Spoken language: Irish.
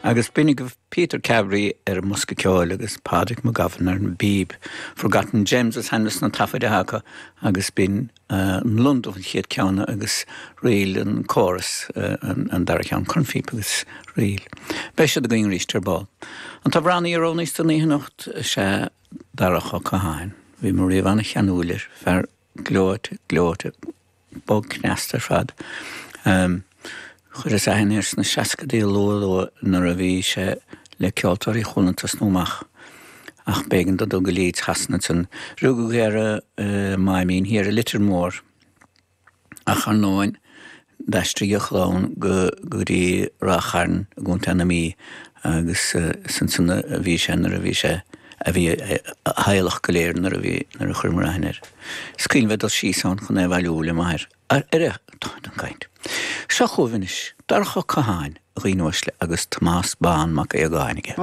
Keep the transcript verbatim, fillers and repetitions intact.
Agus b'in agaibh Peter Carberry ar an mbosca ceoil agus Pádraig Mac Gabhann ar an bpíb. Forgotten Gems is ainm dos na taifid atá acu agus b'in an Londubh an chéad ceann agus Ríl an Chorus an dara ceann cornphíopa agus ríl. Beidh siad againn arís ar ball. An t-amhránaí a roghnaíos don oíche anocht is ea Darach Ó Catháin. Bhí mé riamh an-cheanúil air, fear gleoite, gleoite, bog cneasta ar fad. Chuireas aithne air sna seascaidí luath luath nuair a bhí sé le Ceoltóirí Chualann tosnú amach ach b'éigean dó dul go Leeds Shasana ansan. Rugadh é ar an Máimín thiar i Leitir Móir ach ar ndóin d'aistrigh a chlann go go dtí Ráth Chairn i gContae na Mí agus is ansan a bhí sé nuair a bhí sé a bhí a theaghlach go léir nuair a bhí nuair a chuireamar aithne air. Is cuimhin bheith ag dul síos ann chun é a bhailiú le m'athair. Ar ar an gcaint. Seo chugaibh anois, Darach Ó Catháin, a dhaoine uaisle, agus Tomás Bán Mac Aodhagáin aige.